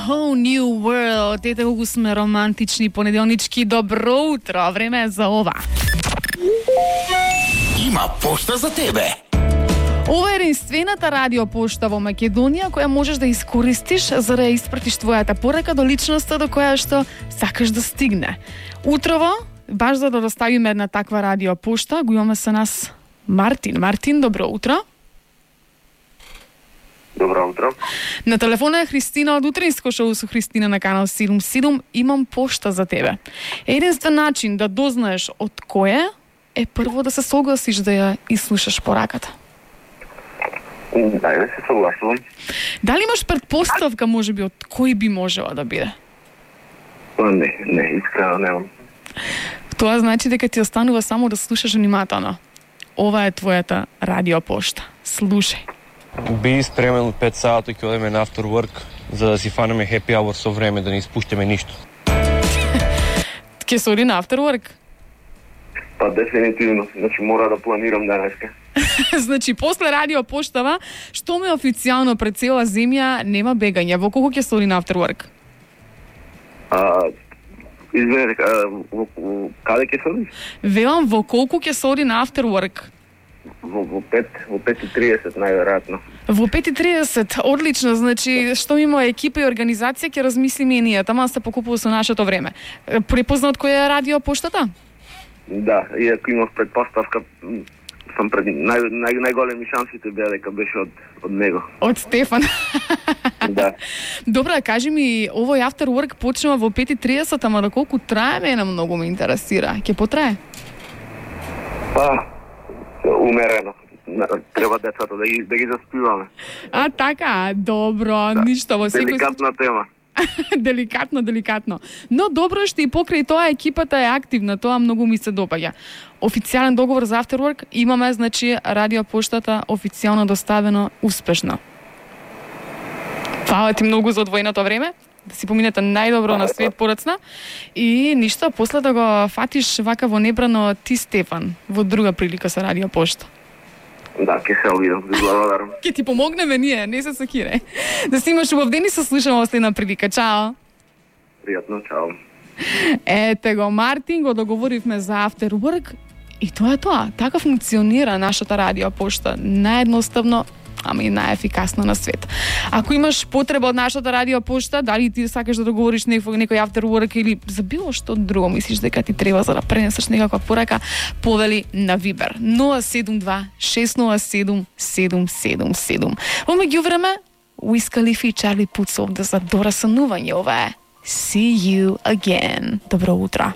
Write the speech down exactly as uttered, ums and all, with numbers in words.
whole new world. Ете колку сме романтични понеделнички. Добро утро, време е за ова. Има пошта за тебе. Ова е единствената радиопошта во Македонија која можеш да искористиш за да ја испратиш твојата порака до личноста до која што сакаш да стигне. Утрово, баш за да доставиме една таква радиопошта, го имаме со нас Мартин. Мартин, добро утро. Добро утро. На телефона е Христина од утринско шоу со Христина на канал седум седум. Имам пошта за тебе. Единствен начин да дознаеш од кој е прво да се согласиш да ја ислушаш пораката. Дај да се согласувам. Дали имаш предпоставка, можеби, од кој би можела да биде? Па не, не, искрено немам. Тоа значи дека ти останува само да слушаш внимателно. Ова е твојата радиопошта. Слушај. Би спремен од пет сати ќе одиме на after work за да си фанеме happy hour со време, да не испуштиме ништо. Ке се оди на after work? Па дефинитивно, значи мора да планирам денеска. Значи, после радиопоштава, што ме официјално пред цела земја нема бегање. Во колку ќе се оди на after work? А, извинете, во, во, каде ќе се оди? Велам, во колку ќе се оди на after work? Во, во пет, во пет и тридесет најверојатно. Во пет и тридесет, одлично, значи, што има екипа и организација, ќе размислиме и ние, тама се покупува со нашето време. Препознат кој е радиопоштата? Да, иако имав предпоставка, сам пред нај, нај, најголеми шансите беа дека беше од, од него. Од Стефан. Да. Добра, кажи ми, овој after work почнува во пет и тридесет, ама доколку трае, мене многу ме интересира. Ќе потрае? Па, умерено. Треба децата да ги, да ги заспиваме. А, така, добро, да. Ништо во секој... Деликатна тема. деликатно, деликатно. Но добро што и покрај тоа екипата е активна, тоа многу ми се допаѓа. Официјален договор за after work имаме, значи, радиопоштата официјално доставено успешно. Фала ти многу за одвоеното време, да си поминете најдобро на свет порацна и ништо, после да го фатиш вака во небрано ти, Стефан, во друга прилика со радиопошта. Да, ке се обидам, ви благодарам. Ке ти помогнеме ние, не се сакире. Да си имаш убав ден и се слушаме во следна прилика. Чао. Пријатно, чао. Ете го, Мартин, го договоривме за after work и тоа е тоа. Така функционира нашата радиопошта. Наједноставно, ама и најефикасно на свет. Ако имаш потреба од нашата радиопошта, дали ти сакаш да договориш некој, некој after work или за било што друго мислиш дека ти треба за да пренесеш некаква порака, повели на Viber нула седум два шест нула седум седум седум седум. Во меѓувреме, Wiz Khalifa и Чарли Пут се овде за дорасанување. Ова е See You Again. Добро утро.